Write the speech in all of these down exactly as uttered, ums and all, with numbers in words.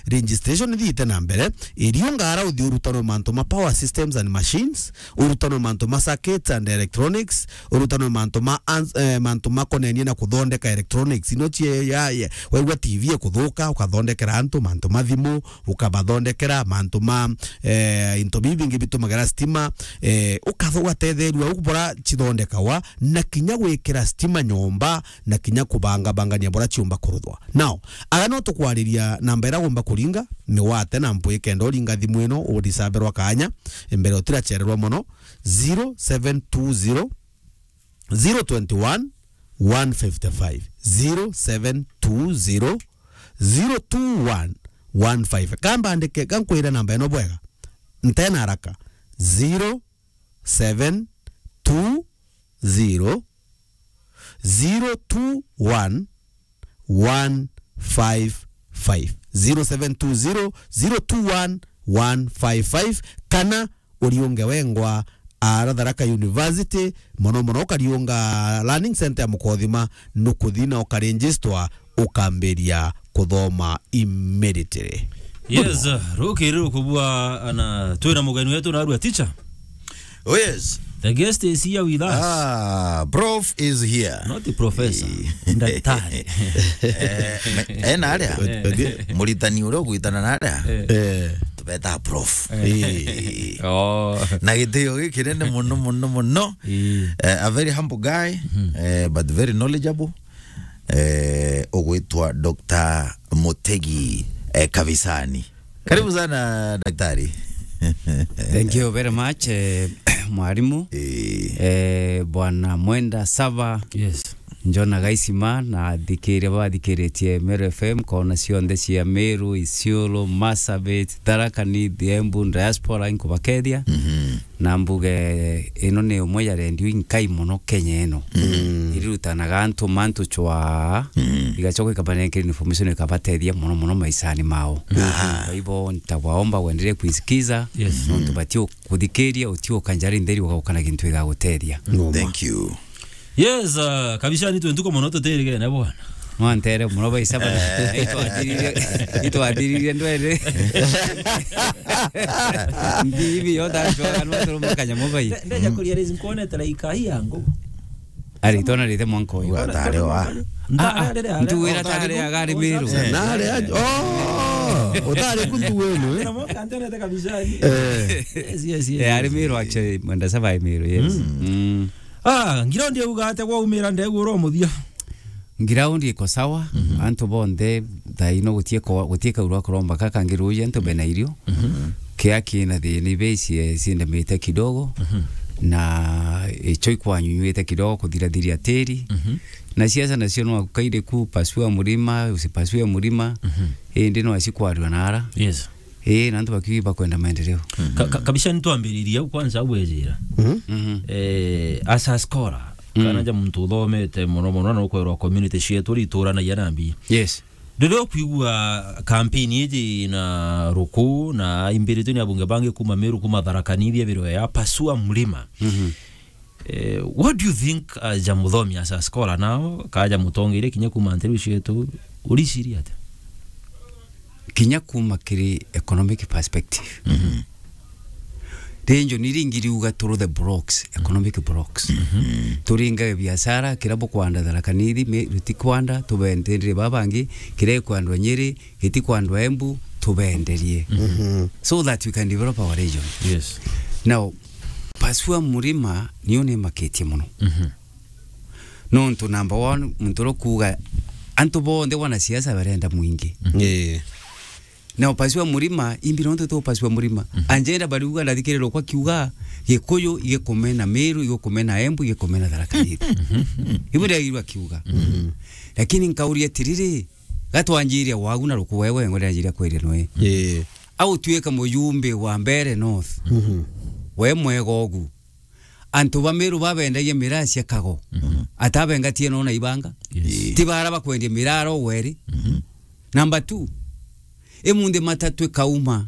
registration ithiite na mbere, iriunga ara uthi urutanwe mantu ma power systems and machines, urutanwe mantu ma circuits and electronics, urutanwe mantu ma ans-, eh, mantu makonenie na kuthondeka electronics. Ino cie ya, ya, waigua T V ikuthuka, ukathondekera antu, mantu ma thimu, ukabathondekera, mantu ma, eh, into bibi bingi bitumagira stima, eh, ukatho-, ugatetheerua u bura cithondekawa, na kinya gwikira stima nyomba, na kinya kubangabangania bura ciumba kuruthwa. Now, aga no tukwariria namba iria ugomba kuringa, migwate na mpwi kenda uringa thimu ino, urisaberwa kanya, mbere utirachererwa mono, zero seven two zero, zero twenty one, one fifty five, zero seven two zero, zero two one, one five. Kamba andike, kankwira namba ino bwega. Ntena haraka. Zero seven two zero, zero two one, one five five. Zero seven two zero, zero two one, one five five. Kana uriunge wengwa ara Tharaka University, mono mono ukariunga Learning Center ya Mukothima, nukuthi na ukaregister, ukambiria kuthoma immediately. Yes, rukiri rukubua na twina mugeni wetu narua teacher. Oh, yes. The guest is here with us. Ah, prof is here. Not the professor. Eh. Daktari. Eh, me-, ena aria? Eh. Muritani uria ugwitana na aria? Eh. Eh. Tubeta prof. Eh. Eh. Oh. Na gitio gikinene muno, muno, muno. Eh. Eh, a very humble guy, eh, but very knowledgeable. Eh, ugwitwa Doctor Mutegi, eh, Kabisani. Karibu sana, daktari. Thank you very much, eh, mwarimu. Eh. Eh, Bwana Mwenda Sava. Yes. Njona Gaisima, na athikiria bathikiritie Meru F M, kona cionthe cia Meru, Isiolo, Marsabit, Tharaka Nithi, Embu, diaspora, inkubakethia. Mhm. Na mbuge ino ni umwe ya redio inkai mono Kenya ino. Mm. Irirutanaga antu mantu chwa, mm, igachoka ikabanenkera information ikabatethia mono mono maishani mao. Aha. Kwa hivyo nitawaomba uendelee kuisikiza, yes, nontu batio kuthikiria, utio kanjari ntheri ugaukana kintu igagutethia. Ngoma. Thank you. Yes, uh, Kabisani twe ntuko mono tutirigene bwana. Mwantere mono baisa bana. Eh. Itwathirire, itwathirire ndwere. Ndi hivi yo da chwa no turu makanya mo bai. Ndeja kuria rezi nkuonete like ai yangu. Ari tona rite mwanko uyu. Atare wa. Ntare rere. Ntu wira tare agari miru. Eh. Nare aje. Oh, utare kuntu wenu, eh. Na mwanka antere kabisa. Eh. Yes, yes, yes. Eh, ari miru actually, Mwenda Sava miru, yes. Mm. Mm. Ah, ngiraundi auga atia gwaumira ndegura umuthia? Ngiraundi iko sawa, mhm, antu bonthe thaino gutie ko-, gutie kaurwa kuromba kaka ngiruji antu bena irio. Mhm. Kia kina thina ibe ici, eh, cindamite kidogo, mhm, na icho ikwanyunyuite kidogo kuthirathiria tiri. Mhm. Na siasa nacio no kaire ku pasua murima, usipasue murima, mhm, indi no asikwarua nara. Yes. Ii, na antu bakiuga bakwenda maendeleo. Ka-, ka-, kabisa nitwambiririe au kwanza au wejira. Mhm. Mhm. Eh, as a scholar, mm, kana ja muntu uthomete mono mono na ukwerwa community cietu ri ituranagia na mbi. Yes. Riria ukwigua campaign iji na ruku na imbiritwe ni abunge bangi kuma Meru, kuma Tharaka Nithi, ebirwe ya pasua mlima. Mhm. Eh, what do you think, uh, ja muthomi as a scholar now, ka ja mutongeria kinya kuma nteru cietu, uriciria atia? Kinya kuma kiri economic perspective. Mhm. Rinjo ni ringi riuga turu the blocks, economic blocks. Mhm. Turinga biashara, kira bukwanda Tharaka Nithi, me, rutikwanda, tubendere babangi, kira ikwandwa Nyeri, gitikwandwa Embu, tubenderie. Mhm. So that we can develop our region. Yes. Now, pasua murima niyo nimakitie muno. Mhm. Nontu number one, muntu uria kuuga antu bonthe wanasiasa barenda mwingi. Mhm. Ii. Na upasua murima, imbi nontu tu upasua murima. Mhm. Anjenda bariuga, ndathikirira kwa kiuga, Gikuyu igikumena Meru, igikumena Embu, igikumena Tharaka Nithi. Mhm. Ibu ndiragirwa kiuga. Mhm. Lakini nkauria atiriri, gatwanjiria wagu na ruku wewe, ngo ndanjiria kwiria nwe. Ii. Au tuika mujumbe wa Mbeere North. Mhm. We mwega ugu. Antu ba Meru babendagia miraa cia kago. Mhm. Atabengatie no na ibanga. Yes. Ti bara bakwendia miraa ro weri. Mhm. Number two, imunthi matatu ikauma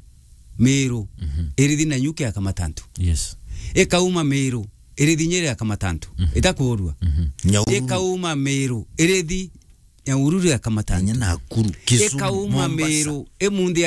Meru, mhm, irithi na nyuki ya Kamatantu. Yes. Ikauma Meru, irithi Nyeri ya Kamatantu. Mhm. Itakurua. Mhm. Nyahururu. Ikauma Meru, irithi Nyahururu ya Kamatantu. Kenya, Nakuru, Kisumu, ikauma Mombasa. Meru, imunthi